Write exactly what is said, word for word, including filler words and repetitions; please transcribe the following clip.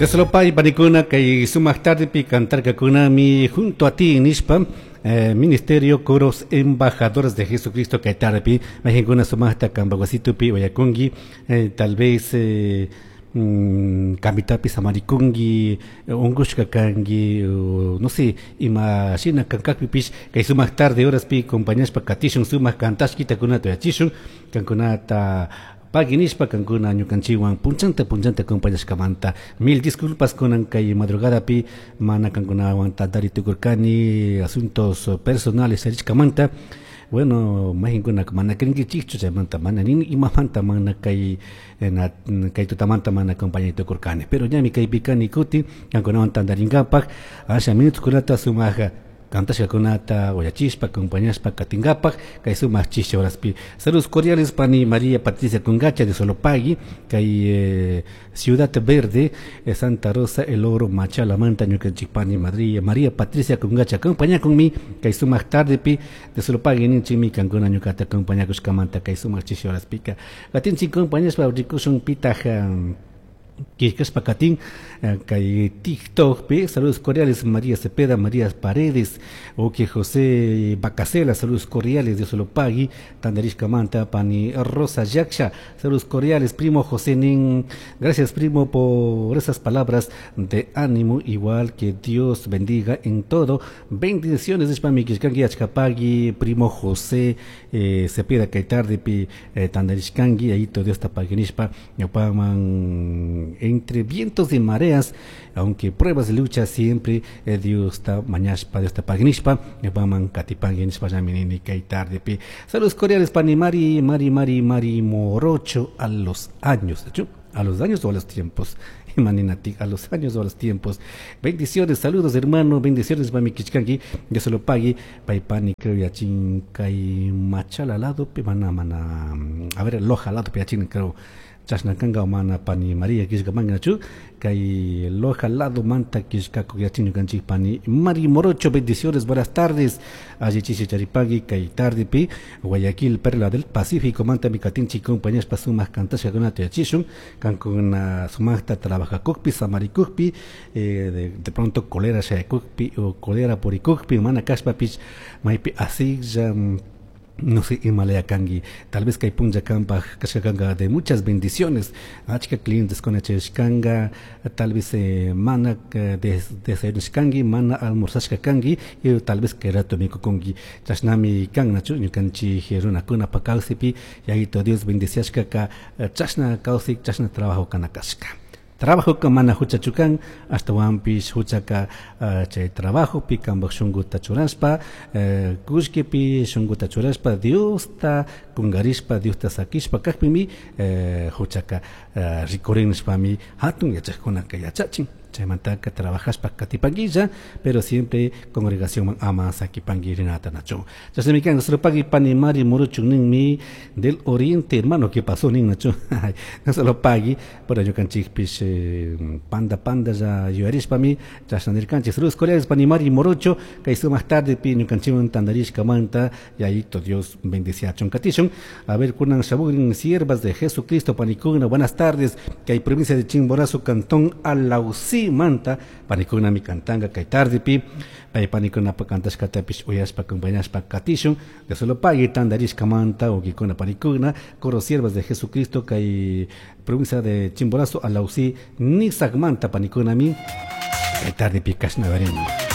Dios panikuna kay sumaq tardepi cantarkakunami junto a ti nishpa eh, Ministerio Coros Embajadores de Jesucristo kay tardepi mayqinkuna sumaqta kanpak wasitupi uyakunki eh, tal vez eh, mm, kamitapi samarikunki unkushka kanki no sé ima shina kankakpipish kay sumaq tarde horaspi acompañashpa katishun sumaq kantashkitakunata uyachishun kankunata pagui nishpa kankuna ñukanchikwan punchanta punchanta acompañashkamanta. Mil disculpas kunan kay madrugadapi mana kankunawan tantari tukurkani asuntos personales charishkamanta. Bueno, mayqinkuna mana krinkichikchu chaymanta mana ni imamanta mana kay na kay tutamanta mana acompañay tukurkani, pero ñami kaypi kani kutin kankunawan tantarinkapak asha minutokunata sumaq kantashkakunata uyachishpa acompañashpa katinkapak kay sumaq chishi horaspi. Saludos cordiales pani María Patricia Congacha de Solopagui kay eh, Ciudad Verde eh, Santa Rosa El Oro Machala manta ñukanchik pani María María Patricia Congacha acompañakunmi kay sumaq tardepi de Solopagui ninchikmi kankuna ñukata acompañakushkamanta kay sumaq chishi horaspika katinchik acompañashpa rikushun pitaj um, Kishkashpa katin kay TikTok saludos cordiales María Cepeda, María Paredes, ok José Bacasela, saludos cordiales, Dios lo pagui, Tandarishka manta, pani Rosa Yaksha, saludos cordiales, primo José Nin, gracias primo por esas palabras de ánimo, igual que Dios bendiga en todo, bendiciones, nishpami kishkanki achkapagui, primo José eh, Cepeda kay tardepi eh, tandarishkanki, ahí Dios ta pagui nishpa, ñawpaman entre vientos y mareas, aunque pruebas de lucha siempre eh, Dios está mañashpa, Dios está pagnishpa, ñawpaman katipangui nishpa llaminini kay tardepi. Saludos cordiales pani Mari, Mari, Mari, Mari Morocho a los años, de hecho, a los años o a los tiempos. Imaninati, a los años o a los tiempos. Bendiciones, saludos hermano, bendiciones mami kichkanki, Dios se lo pague, paipani creo yachin kay machala lado pi mana mana, a ver loja lado pi yachin creo. Chashna kanga mana pani María kishka manganachu kay loja lado manta kishka kuyachin ñukanchik pani Mari Morocho, bendiciones, buenas tardes alli chishi charipagui kay tarde pi Guayaquil Perla del Pacífico manta mi katinchi compañías pa sumaq kantashkakunata yachishun kankuna sumaqta trabajakukpi samarikukpi eh, de, de pronto colera shayakukpi o colera purikukpi mana kashpapish maypi asilla no sé, Himalaya kangi, tal vez kay punlla kanpaj kashkakanga de muchas bendiciones, achka clientes con kanga, tal vez eh, mana desayunashkangi, mana almorzashka kangi, y tal vez kay rato mikukunki, chashnami kan nachu ñukanchik runakuna pa kawsaypi, yayito Dios bendiciashkaka, chashna kawsay, chashna trabajo kana kashka. Trabajo ka mana huchachu kan, ashtawanpish huchaka uh, chay trabajopi kanpak shunkuta churashpa, uh, kullkipi shunkuta churashpa, Diosta kungarishpa, Diosta sakishpa kakpimi uh, huchaka uh, rikurin nishpami hatun yachajkunaka yachachin. Chaymantaka trabajashpa katipanguilla, pero siempre congregación ama sakipangi rinata nacho. Chashnami kan solo pagui pani Mari Morocho ninmi del Oriente, hermano, ¿qué pasó nin nacho? No solo pagui, por ñukanchikpish eh, panda panda ya yuyarishpami, chashna nirkanchik. Saludos cordiales pani Mari Morocho, kay sumaq tarde pi ñukanchikwan tandarishka manta, yayito Dios bendiciachun katishun. A ver, kunan shamugrin siervas de Jesucristo panikuna, buenas tardes, kay provincia de Chimborazo, cantón Alausí manta panikuna mi kantanga kay tardepi pay panikuna pa kantashkatapish uyashpa acompañashpa katishun de solo pagui tandarishka manta ukikuna panikuna coro siervas de Jesucristo kay provincia de Chimborazo Alausí Nisak manta panikuna mi kay tardepi kashna varin.